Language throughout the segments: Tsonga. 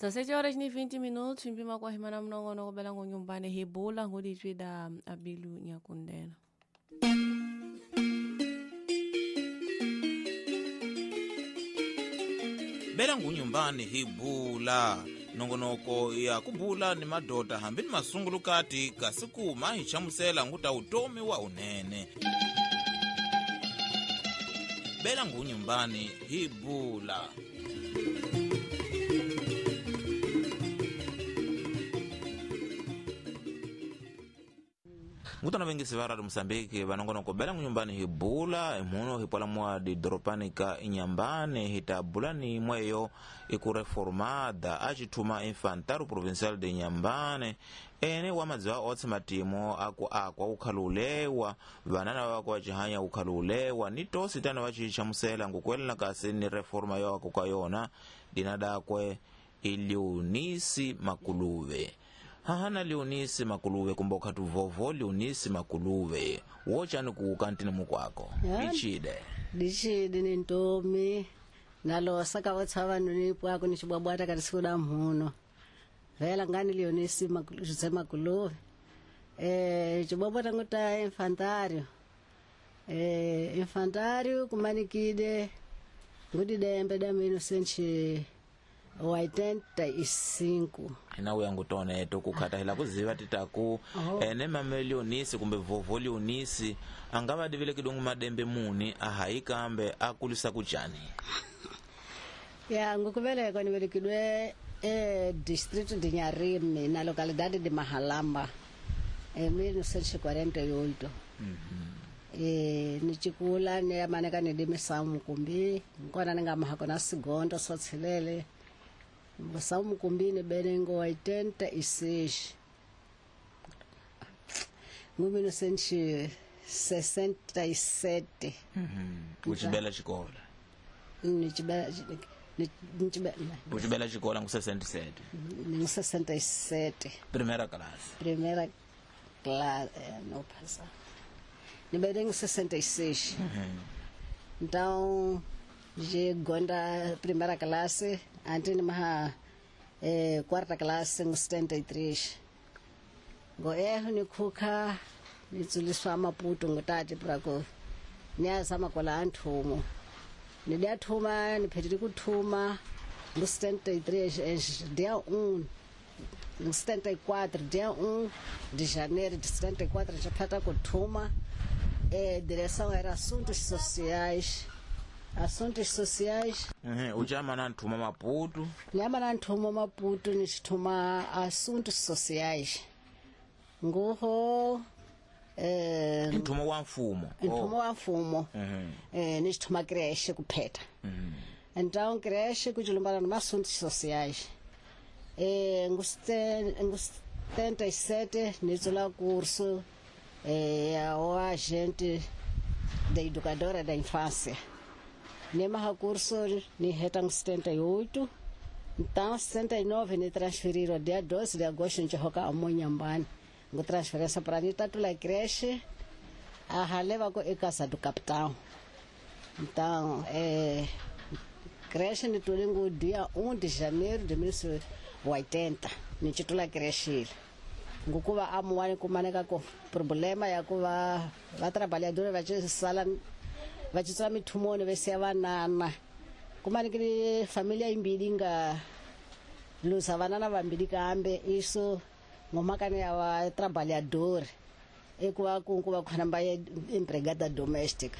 17 horas ni 20 minutos mpima kwa himana mnongono kubela ngunyumbani hibula nguditswida abilu nyakundena. Bela ngunyumbani hibula nongonoko ya kubula ni madoda hambi ni masungulukati kasi kuma hi chamusela nguta utomi wa unene. Bela ngunyumbani hibula. Ngutana vengisi va Radio Mozambique vanongonoko bela ngunyumbani hibula imuno hipola mwa didoropani ka Inhambane hitabula ni mweyo ikureformada acithuma Infantário Provincial de Inhambane ene wa madziwa otse matimo aku akwa ukhalulewa vanana vako vacihanya ukhalulewa ni tosi tana vacichamusela ngukuelela kasi ni reforma yo aku ka yona dina dakwe Leonisi Makuluve. Hahana Leonisi Makuluve kumba ukhati vovo Leonisi Makuluve wochani kuukantini mukwako. Lichide lichide ni ntomi nalosa ka votshava noni pwako ni xibwabwata ka risiku mhuno vela ngani Leonisi José Makuluve xibwabwata nguta infantário infantário kumanikide ngudidembe da 1985. Ina uya ngutoneto kukhata hila kuziva titaku ene mame Leonisi kumbe vovo Leonisi angava divile kidungu madembe muni ahayi kambe akulisa kuchani. Ya ngukuvelekwa nivelekidwe distrito de Nharime na localidade de Mahalamba em 1948. Ni chikula ni amaneka ni dimisa mukumbi nkona ni nga mahako na sigondo sotshilele Musa mukumbi ni benengo 86 ngo 1967. Uchibela xikola Nichibela uchibela xikola ngu 67 ngu 67 primeira classe. Primeira classe no passa ni benengo 66. Então de gonda primeira classe ante ni maha quarta classe ngo 73 ngo eho ni khukha ni tsuliswa Maputo ngutati prako ni azama kola anthumo ni dia thuma ni phethile kuthuma ngo 73 dia 1 ngo 74 dia 1 de janeiro de 74 já phata kuthuma. Direção era assuntos sociais. Assuntos sociais. Uchama na nthuma Maputo. Nyama na nthuma Maputo ni xithuma assuntos sociais. Nguho nthuma wa mfumo. Nthuma wa mfumo. Ni xithuma creche kuphetha. Então creche kuchilumbana na assuntos sociais. Ngu 77 ni tsula curso o agente da educadora da infância. Nema curso ni heta em 78, então 79 ni transferiram dia 12 de agosto ni hoka amonhambane. Ngo transferência para ni tatula creche a haleva ko e casa do capitão. Então, creche ni tulingo dia 1 de janeiro de 1980, ni titula creche. Ngukuva amuwani kumaneka ko problema ya kuva va trabalhadora va sala va tswa mithumoni vese vanana kumanikile familia imbili nga lusa vanana vambili kambe iso ngomakane ya va trabalhador ekuva kunkuva khona mba empregada doméstica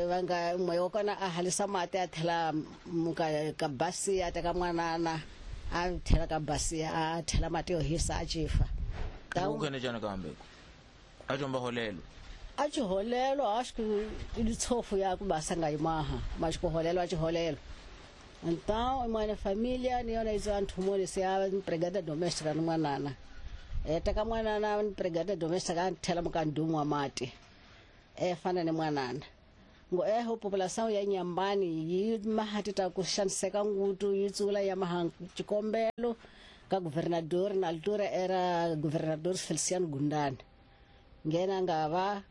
vanga moyo kona a halisa mate a thela muka ka basi a teka mwanana a thela ka basi a thela mate yo hisa a chifa. Ukhene jana kambe a chomba holelo a chiholelo acho que ilitsofu ya kubasa ngayimaha mas kuholelo a chiholelo. Então mwana familia ni yona izo anthumoni se a empregada doméstica no mwanana teka mwanana empregada doméstica a thela mukandumu wa mate fana ni mwanana ngo eho população ya Inhambane yi mahatita ku xaniseka ngutu yi tsula ya maha xikombelo ka governador na altura era governador Feliciano Gundani ngena nga va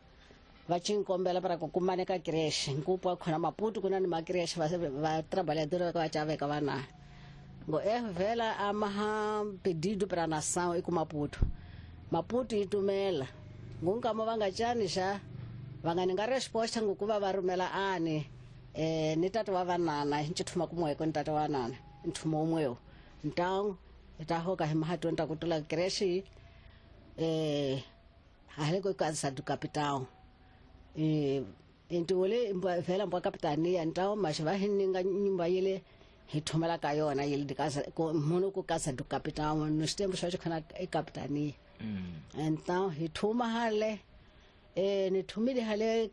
va xikombela para ku kumaneka creche nkupo khona Maputo kuna ni ma creche va trabalhador va chaveka vana. Ngo vela amaha pedido para nação e ku Maputo. Maputo itumela. Ngunkamo vangachani xa va nga ninga resposta ngokuva va rhumela ani ni tata wa vanana hi ncithuma kumweko ni tata wa nana nthumo umwewo então hi ta hoka hi mahatweni ta ku tula creche hale ko casa do capitão intiwole vela mbwa capitania então mas va hi ninga nyumba yele hi thumela ka yona yele de casa munhu ku casa do capitão nos tempos swa khona e capitania. Então hi thuma hale ni thumile hale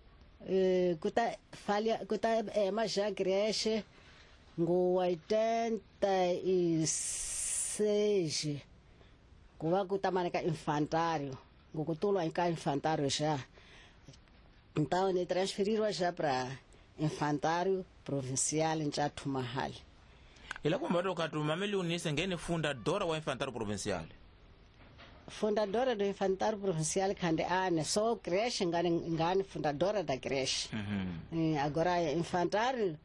kuta falha kuta maja creche ngo 86 kuva kuta ka infantário ngo kutulwa ka infantário já. Então ni transferirwa já para infantário provincial em Chatumahal. Ila kwamba ukatu unise ngene fundadora wa infantário provincial. Fundadora do infantário provincial khande ane só creche ngane fundadora da creche. Agora infantário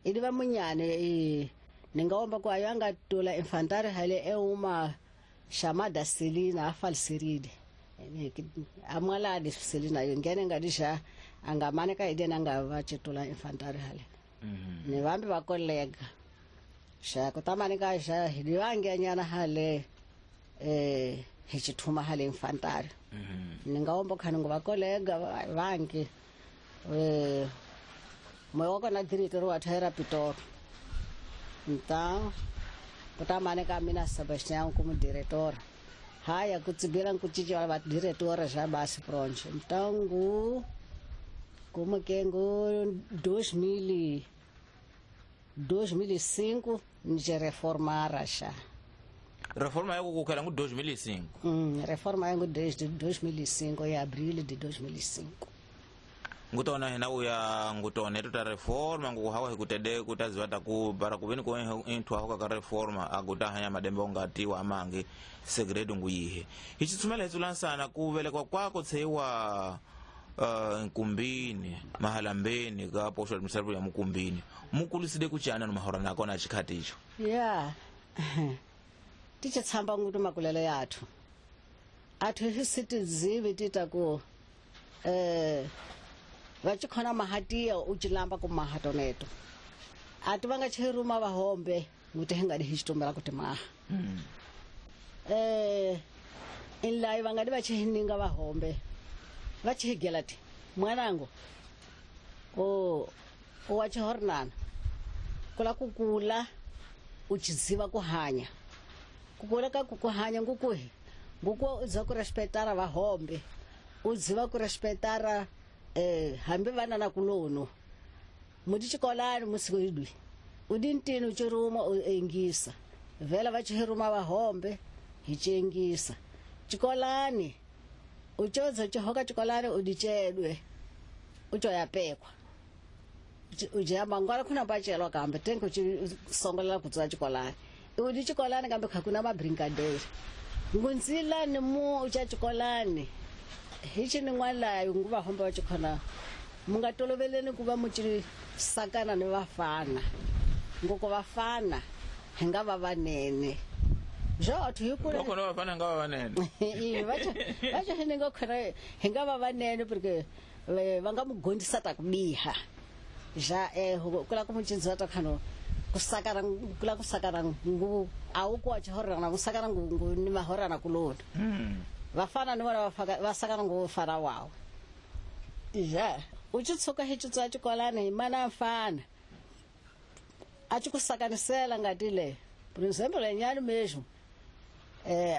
ili va munyane ningaomba ku ayanga tula infantário hale é uma chamada Celina afalseride. Amwala de Celina ngene ngadisha angamane ka ide nanga va chitula infantário hale. Ni vambi va colega. Xa kutamani ka xa hidiwange nyana hale hi chithuma hale infantário. Ningaomba khani ngo va colega vangi moyo wa kona diretor wa thaira Pitori. Então kutamani ka mina Sebastião como diretor. Haya kutsibira nkuchicha va diretora já basi pronto. Então ngu como que ngu 2005 nje reformara xa. Reforma yako kukhala ngu 2005. Reforma yangu desde 2005 em abril de 2005. Ngutona hina uya ngutona eto ta reforma nguhawa hikutede kutaziwa taku bara kuveni ko inthu ahoka ka reforma aguta hanya madembe ongatiwa amange segredo nguyihe. Hichitsumela hitsulansana kuvelekwa kwako tseiwa nkumbini mahalambeni ka posho administrative ya mukumbini mukuliside kuchana no mahorana akona chikhati icho. Yeah. Tichitsamba ngutu makulele yathu. Athu hisitizivi titaku vachikhona mahatiya uchilamba ku mahatoneto. Ati vanga chiruma vahombe nguti hingadi hichitumela kuti maha. Inlayi vangadi vachihininga vahombe. Vachihigela ti mwanangu o wachihornana kula kukula uchiziva kuhanya. Kukula ka kuhanya ngukuhi nguku udziva ku respetara vahombe udziva ku respetara hambi vana na kulono muti chikolani musikwidwi udintini uchiruma uengisa vela vachihiruma vahombe hichengisa chikolani uchozo chihoka chikolani udichedwe uchoyapekwa ujamba ngwala kuna pachelwa kambe tenke uchisongolela kutswa chikolani udi chikolani kambe khakuna mabrinkadeira ngunzilani mu uchachikolani hichi ni n'walayo nguva homba vachikhona mungatoloveleni ku va muchisakana ni vafana ngoko vafana hi nga va vanene byo athu hi kule loko vafana nga va vanene vacho hi nga khona hi nga va vanene porque va nga mu gondisa ta ku biha ja kula ku mucindziwa ta khano kusakara kula kusakara ngu awu ku achihorana kusakara ngu ni mahorana kulona. Vafana ni vona vasakana ngo fara wawo. Ja uchitsuka hichitswa chikolani hi mana mfana achikusakanisela ngati le por exemplo lenyani mesmo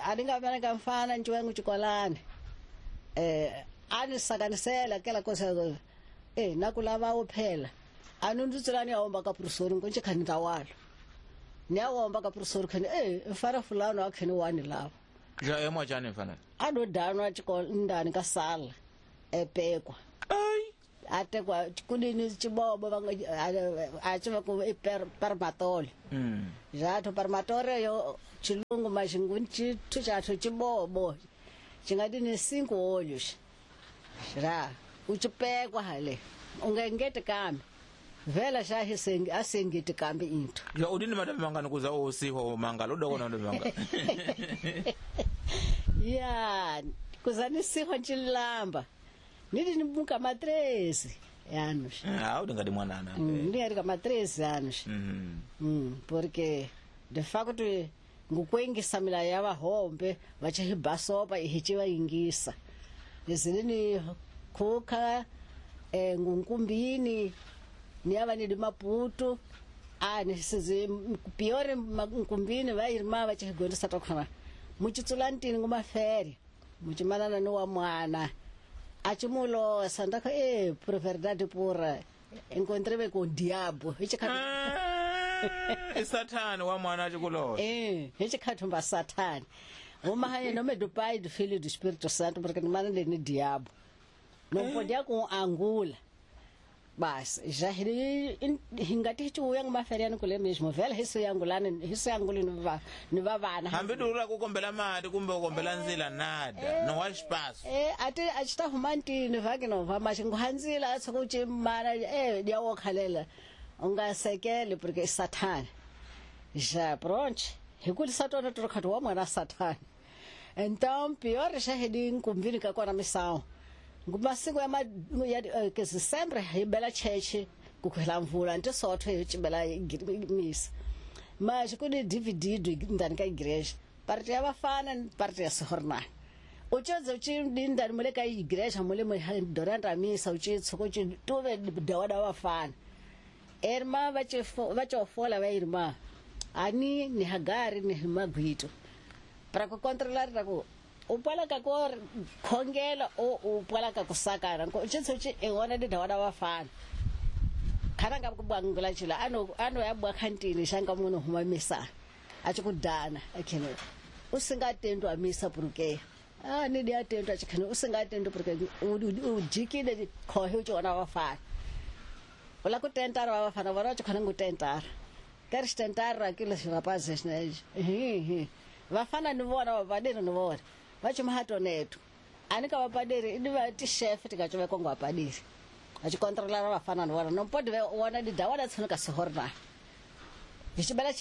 alinga ka mfana nchiwengu chikolani anisakanisela kela kosa nakulava phela anundutselani aomba ka professor ngo nchikhani tawalo ni aomba ka professor khani mfana fulano akhani wani lava. Ja emo chani mfana adodanwa ndani ka sala epekwa. Ai atekwa kulini chibobo vanga achiva ku permatole. Jathu permatore yo chilungu maxingu chithu chathu chibobo chingati ni 5 olhos. Ra uchipekwa hale ungengete kambe Vela xa hisengi asengiti kambe into. Ya udini madame mangani kuza osiho mangalo udokona madame manga. Ya kuza nisiho nchilamba. Nidi nibuka ma 13 anos. Ah, udingadi mwanana. Ndi ka ma 13 anos. Porque de facto ngukwengisa mila ya vahombe vachihibasopa ihichivaingisa. Izilini khuka ngunkumbini niava nidi Maputo a nisizi piore nkumbini vairima vachihigondisa takhona muchitsulantini ngumafere muchimanana ni wa mwana achimulosa ndakho por verdade pura encontrei com o diabo Sathane wa mwana achikulosa hichikhathumba Sathane uma em nome do Pai, do Filho e do Espírito Santo, porque não manda ni diabo não podia com angula. Bas já hingati hichuya ngumaferiano kule mesmo vele hisu yangulana hisu yanguli ni vavana hambi dura kukombela mati kumbe kukombela nzila nada no wa espaço ati achita humantini vake no va mashinguhanzila atsokuchi mana diawokhalela ungasekele porque Sathane já pronto hikulisa tona torokhathi wa mwana Sathane. Então pior já hedi nkumbini ka kona misawu ngumasiku ya ke sempre hibela cheche kukhwela mvula nti sotho hi chibela misa mas ku ni DVD ndani ka igreja parte ya vafana parte ya sihorna uchoze uchi ndani mule ka igreja mule durante a misa uchi tsoko uchi tuve dawada vafana erma vachofola va irma ani ni Hagari ni Magwito para ku controlar ra ku upala ka ko khongela o upala ka kusakana ko tshitsi e wona di dawada vafana khana nga kubangula chila ano ya bwa khantini xanga munhu huma misa a tshi kudana akhene u singa tendo a misa porque a ni dia tendo a chikhene u singa tendo porque u jikile khohe u tshona vafana ola ku tentara vafana vona chikhana ngu tentara queres tentar aquilo rapazes né vafana ni vona vapaderi ni vona vachimahato netu anika vapaderi ini va ti-chef tikachove kongo vapaderi vachikontrolara vafana ni vona não pode ver ona di dawada tshono ka sehorna hichibela.